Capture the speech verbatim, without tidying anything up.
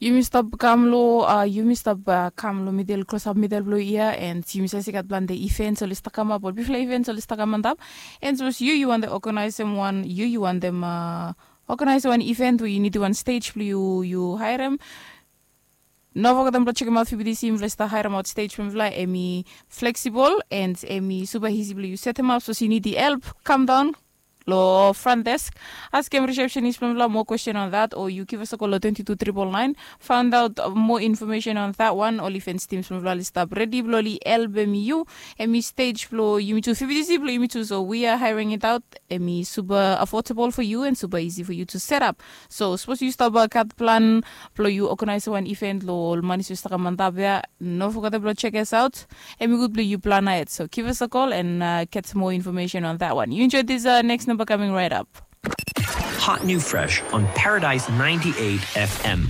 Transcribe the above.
Yumi stap kam long a yumi stap kam long midel klosap midel blong yia, and yumi save se i gat plante events oli stap kamap ol bifala events oli stap kam antap. And sapos yu yu wantem oganaisim wan yu yu wantem oganaisim wan event we yu nidim wan stej blong yu yu haerem. No fogetem blong sekemaot fibidisi mifala i stap haeremaot stej blong mifala em i fleksibol and em i supa isi blong yu setemap sapos yu nidim help, kam daon long front desk, askem risepsenis blong mifala moa kwesten on that o yu givas a kol long twenty two triple nine, faundaot moa infomesen on that wan. Oli fens tims blong mifala oli stap redi blong oli helpem yu. Em i stej blong yumi tu fibidisi blong yumi tu so we are hiring it out. Em i supa afodabol fo yu and supa isi fo yu tu setap. So sapos yu stap gat plan blong yu oganaisim wan event long ol manis we stap kam antap ya, no fogetem blong sekes aot. Em i gud blong yu plan ahed, so givas a kol and get moa infomesen on that one. Yu enjoy this next number coming right up. Hot new fresh on Paradise ninety-eight F M.